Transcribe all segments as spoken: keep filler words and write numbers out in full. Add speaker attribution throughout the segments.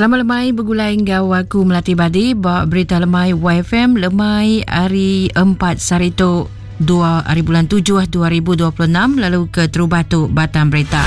Speaker 1: Selamat lemai bergulai ngau aku Melati Badi ba berita lemai Y F M lemai hari empat sehari tu dua hari bulan tujuh dua ribu dua puluh enam lalu ke terubah tu Batam Berita.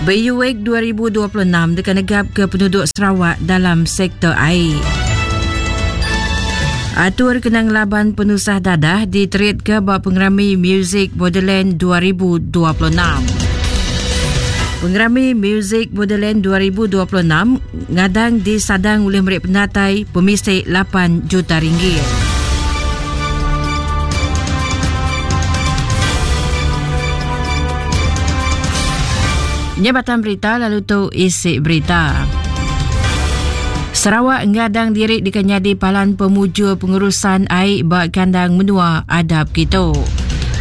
Speaker 1: B U W dua ribu dua puluh enam dekat negap ke penduduk Sarawak dalam sektor air. Atur kenang laban penusah dadah diterit ke bab pengerami Music Borderland dua ribu dua puluh enam. Pengerami Music Borderland dua ribu dua puluh enam ngadang disadang oleh mereka pendatai pemisik lapan juta ringgit. Nyebatan berita lalu tu isi berita. Sarawak ngadang diri dikenyadi palan pemujur pengurusan air bak kandang menua adab kita.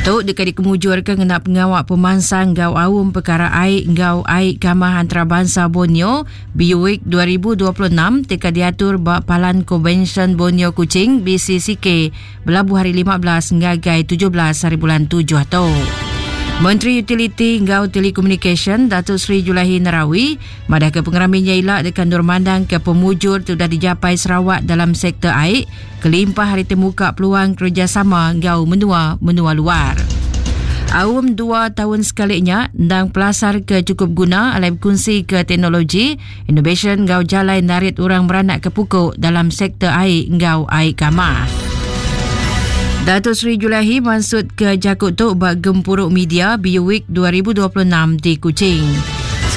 Speaker 1: Tu dekat dikemujur ke ngena pengawak pemansang gau awum perkara air gau air kamah antarabangsa Borneo B U W dua ribu dua puluh enam tika diatur bak Palan Konvensyen Borneo Kuching B C C K belabuh hari lima belas ngagai tujuh belas hari bulan tujuh tu. Menteri Utiliti ngau Telekomunikasi Datuk Seri Julaihi Narawi madah ke pengeraminya ilak dekat Nur Mandang ke pemujur sudah dijapai Sarawak dalam sektor air kelimpah hari temuka peluang kerjasama ngau menua-menua luar. Awam dua tahun sekalinya ndang pelasar ke cukup guna alai berkongsi ke teknologi, innovation ngau jalai narit orang beranak ke pukul dalam sektor air ngau air kamar. Datuk Seri Julaihi maksud ke Jakut Tok bak gempuruk media B U W dua ribu dua puluh enam di Kuching.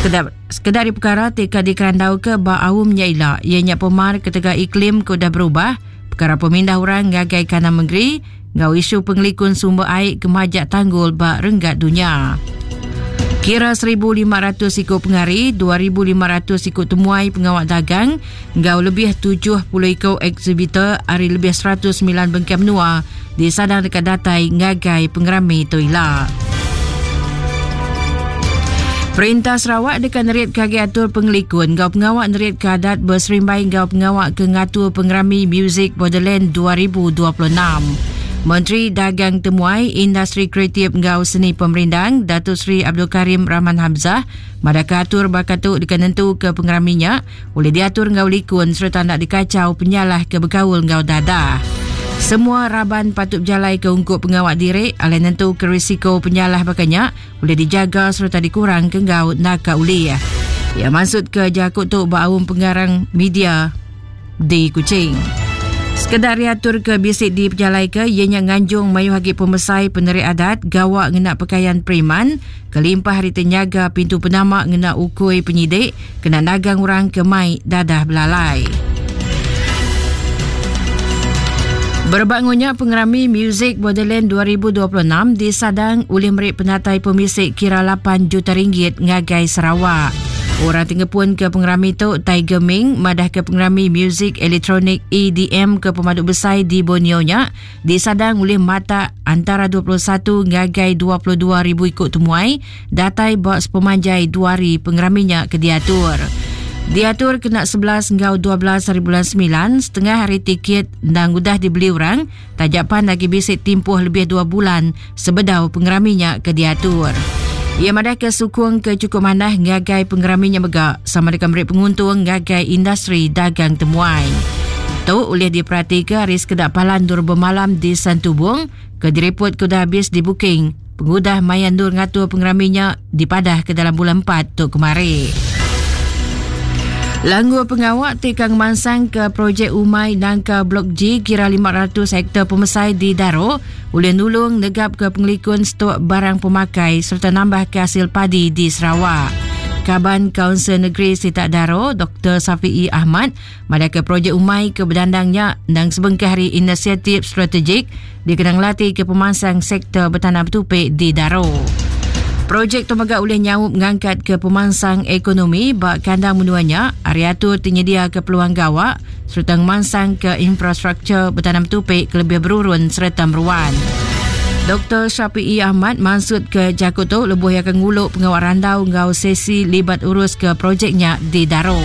Speaker 1: Sekedar, sekedar perkara T K dikerandau ke bak awamnya ila, ianya pemar ketegak iklim ke dah berubah, perkara pemindah orang ngagai kanan negeri, ngau isu pengelikun sumber air kemajak tanggul bak renggat dunia. Kira seribu lima ratus ikut pengari, dua ribu lima ratus ikut temuai pengawak dagang, ngau lebih tujuh puluh ikut exhibitor hari lebih seratus sembilan bengkai menua di sadang dekat datai ngagai pengerami Toila. Perintah Sarawak dekat nerit kaki atur pengelikun ngau pengawak nerit keadat berserimbai ngau pengawak ke ngatur pengerami Music Borderland dua ribu dua puluh enam. Menteri Dagang Temuai Industri Kreatif ngau Seni Pemerindang Datuk Seri Abdul Karim Rahman Hamzah madaka atur bakat tu dekat nentu ke pengeraminya boleh diatur ngau likun serta nak dikacau penyalah ke berkaul ngau dadah. Semua raban patut berjalai ke ungkup pengawak diri alai nentu ke risiko penyalah bakanya boleh dijaga serta dikurang ke ngau naka uli. Ya maksud ke jakut tu baum pengarang media di Kuching. Sekedar diatur ke bisik di pejalai ke ianya nganjung mayu hagi pemesai penerik adat gawak ngena pakaian preman kelimpah hari tenyaga pintu penamak ngena ukui penyidik kena nagang orang ke mai dadah belalai. Berbangunnya pengerami Music Borderland dua ribu dua puluh enam disadang oleh merik penatai pemisik kira lapan juta ringgit ngagai Sarawak. Orang tinggal pun ke pengerami tu Tiger Ming madah ke pengerami muzik elektronik E D M ke pemaduk besar di Borneo nya disadang oleh mata antara dua puluh satu ngagai dua puluh dua ribu ikut temuai datai bak sepemanjai dua hari pengeraminya ke diatur. Diatur kena sebelas ngau dua belas hari bulan sembilan, setengah hari tiket dan udah dibeli orang, tajapan lagi bisik timpuh lebih dua bulan sebedau pengeraminya ke diatur. Ia madah ke sukung ke cukup manah ngagai pengeraminya megak sama dengan beri penguntung ngagai industri dagang temuai. Tu oleh diperhatikan hari sekedak palan dur bermalam di Santubong ke direpot ke dah habis di booking. Pengudah mayan dur ngatur pengeraminya dipadah ke dalam bulan empat tu kemarin. Langgur pengawak tekang mansang ke projek Umai Nangka Blok G kira lima ratus hektar pemesai di Daro oleh nulung negap ke pengelikun stok barang pemakai serta nambah ke hasil padi di Sarawak. Kaban Kaunsil Negeri Sitak Daro, Doktor Safi'i Ahmad, madah ke projek Umai ke berdandangnya dan sebengkah hari inisiatif strategik dikenang latih ke pemansang sektor bertanam tupik di Daro. Projek tu megak oleh nyaup mengangkat ke pemansang ekonomi bak kandang menuanya, area tu tersedia ke peluang gawak serta memansang ke infrastruktur bertanam tupik ke lebih berurun serta meruan. Doktor Syafi'i Ahmad maksud ke Jakut tu lebuh yang akan nguluk pengawal randau ngau sesi libat urus ke projeknya di Daro.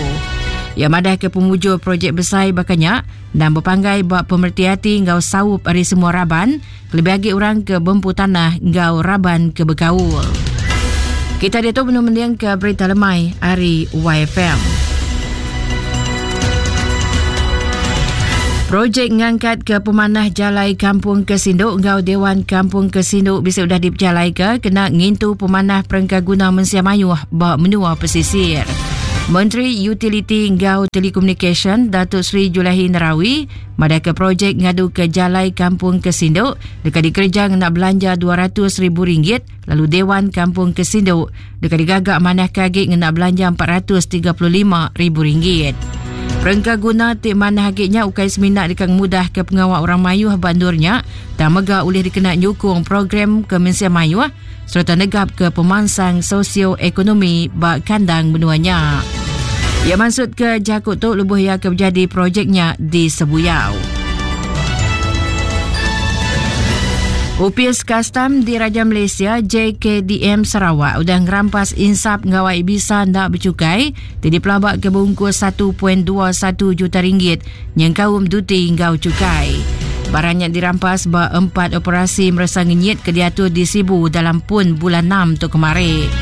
Speaker 1: Yang madah ke pemujur projek besar bakanya dan berpanggai buat pemerhati ngau saup dari semua raban, lebih lagi orang ke bempu tanah ngau raban ke berkaul. Kita diatu menung ke berita lemai hari Y F M. Projek ngangkat ke pemanah jalai Kampung Kesinduk ngau Dewan Kampung Kesinduk bisa sudah dipejalai ke kena ngintu pemanah perengkaguna mensia mayuh ba menua pesisir. Menteri Utiliti ngau Telekomunikasi Datuk Seri Julaihi Narawi madah ke projek ngadu ke jalai Kampung Kesinduk dekat dikerja nak belanja dua ratus ribu ringgit lalu Dewan Kampung Kesinduk dekat digagak manah kagik ngena belanja empat ratus tiga puluh lima ribu ringgit. Perengkaguna ti manah agiknya ukai seminak dekat mudah ke pengawak orang mayuh bandurnya dan mega boleh dikena nyukung program ke mensia mayuh serta negap ke pemansang sosioekonomi bak kandang menuanya. Ia maksud ke jakut tu lebuh ia ke menjadi projeknya di Sebuyau. Upis Kastam di Raja Malaysia J K D M Sarawak udah ngerampas insap ngawai bisa ndak bercukai ti dipelabak ke bungkus satu perpuluhan dua satu juta ringgit nyengkaum duti ngau cukai. Barangnya dirampas ba empat operasi merasa ngenyit ke diatur di Sibu dalam pun bulan enam tu kemarin.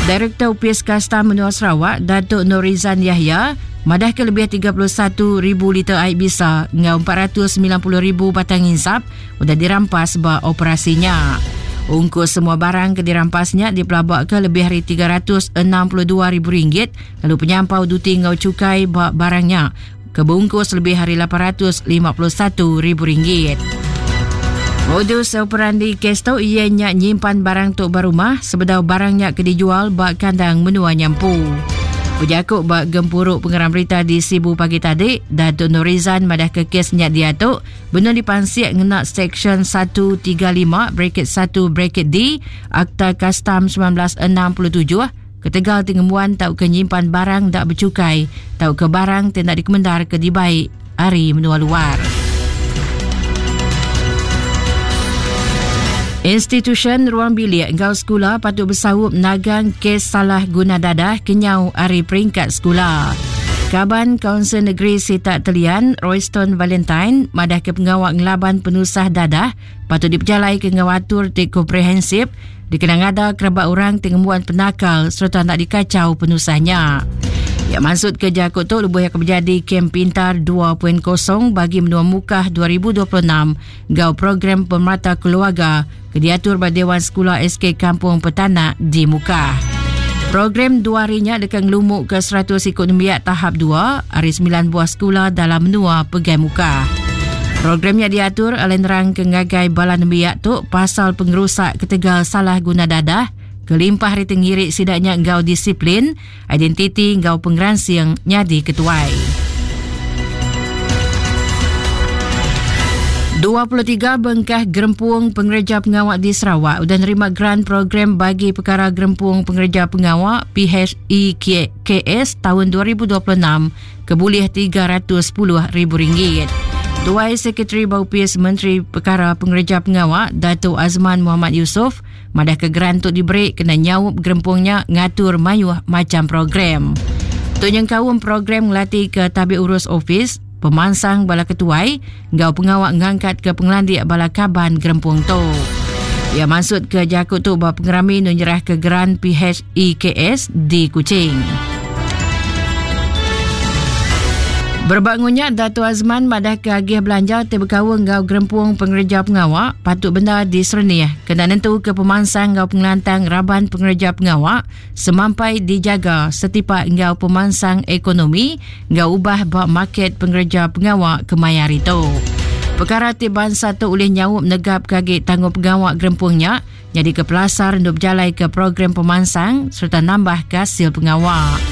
Speaker 1: Direktur Upis Kastam Menua Sarawak Datuk Norizan Yahya madah ke lebih tiga puluh satu ribu liter air bisa ngau empat ratus sembilan puluh ribu batang insap udah dirampas ba operasinya. Ungkus semua barang ke dirampasnya dipelabak ke lebih hari tiga ratus enam puluh dua ribu ringgit lalu penyampau duti ngau cukai ba barangnya kebungkus lebih hari lapan ratus lima puluh satu ribu ringgit. Modus operandi kes tu ianya nyimpan barang tok barumah sebedau barangnya ke dijual bak kandang menua nyampu. Berjakuk bak gempuruk pengeram berita di Sibu pagi tadi, Datuk Norizan madah ke kesnya dia tu benar dipansiak ngena Seksyen satu tiga lima bracket satu bracket D Akta Kastam sembilan belas enam puluh tujuh ketegal tingemuan tau ke nyimpan barang tak bercukai tau ke barang tidak dikemendar ke dibaik hari menua luar. Institution Ruang Bilik Ngau Sekolah patut bersawup nagang kes salah guna dadah kenyau hari peringkat sekolah. Kaban Kaunsil Negeri Sitak Telian, Royston Valentine, madah ke pengawak ngelaban penusah dadah patut diperjalai ke ngawatur ti komprehensif dikenang ada kerabat orang tengemuan penakal serta nak dikacau penusahnya. Ya maksud kerja aku tu lebuh yang menjadi Kem Pintar dua titik kosong bagi menua Mukah dua ribu dua puluh enam gau program pemerata keluarga kediatur pada Dewan Sekolah S K Kampung Petanak di Mukah. Program dua harinya dekat ngelumuk ke seratus ikut nembiak tahap dua hari sembilan buah sekolah dalam menua Pegai Mukah. Programnya diatur oleh nerang ke ngagai bala nembiak tu pasal pengerusak ketegal salah guna dadah kelimpah hari tengirik sidaknya ngau disiplin, identiti ngau pengeransing nyadi ketuai. dua puluh tiga bengkah gerempung pengerja pengawak di Sarawak sudah nerima grant program bagi perkara gerempung pengerja pengawak P H E K S tahun dua ribu dua puluh enam kebulih tiga ratus sepuluh ribu ringgit. Tuai Sekretari Baupis Menteri Perkara Pengerja Pengawak Datuk Azman Muhammad Yusof madah ke grant tu diberi kena nyaup gerempungnya ngatur mayuh macam program. Tu nyengkaum program ngelatih ke tabik urus ofis, pemansang bala ketuai, ngau pengawak ngangkat ke pengelandik bala kaban gerempung tu. Ya maksud ke jakut tu bahawa pengerami menyerah ke grant P H E K S di Kuching. Berbangunnya Dato' Azman madah ke agih belanja terbekawa ngau gerempung pengerja pengawak patut benda disernih kena nentu ke pemansang ngau pengelantang raban pengerja pengawak semampai dijaga setipak ngau pemansang ekonomi ngau ubah bak market pengerja pengawak kemayar itu. Perkara ti bangsa tu oleh nyaup negap kagik tanggung pengawak gerempungnya jadi ke pelasar untuk berjalai ke program pemansang serta nambah hasil pengawak.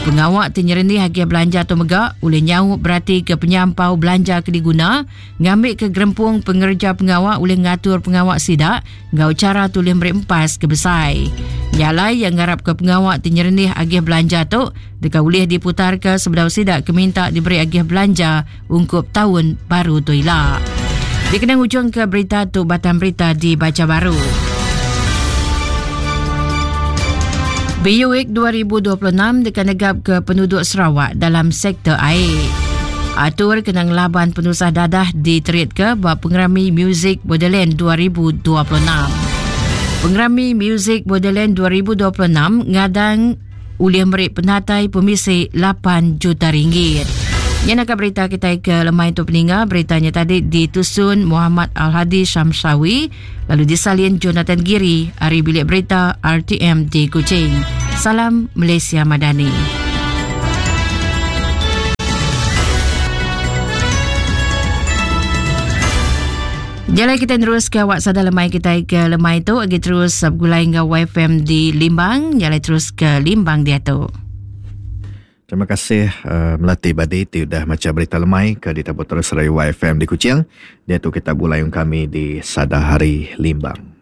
Speaker 1: Pengawak tinyerenih hagi belanja tu megak oleh nyaup berarti ke penyampau belanja ke diguna ngambil ke gerempung pengerja pengawak oleh ngatur pengawak sidak ngau cara tulis beri empas ke besai. Nyalai yang ngarap ke pengawak tinyerenih agih belanja tu dekat boleh diputar ke sebedau sidak ke minta diberi agih belanja ungkup tahun baru tu ila. Dikenang ujung ke berita tu batang berita dibaca baru. B U Week dua ribu dua puluh enam dekat negap ke penduduk Sarawak dalam sektor air. Atur kena ngelaban penusah dadah diterit ke bab pengerami Music Borderland dua ribu dua puluh enam. Pengerami Music Borderland dua ribu dua puluh enam ngadang ulih meri penatai pemisi lapan juta ringgit. Yang nak berita kita ke lemai tu peninga, beritanya tadi ditusun Muhammad Al-Hadi Syamsawi lalu disalin Jonathan Giri hari bilik berita R T M di Kuching. Salam Malaysia Madani. Jalan kita terus ke awak sadar lemai kita ke lemai tu lagi terus bergulai dengan Y F M di Limbang, jalan terus ke Limbang dia tu.
Speaker 2: Terima kasih uh, Melati Badi ti udah macam berita lemai ke ditabur terus dari Y F M di Kuching. Dia tu kita bulayung kami di Sada Hari Limbang.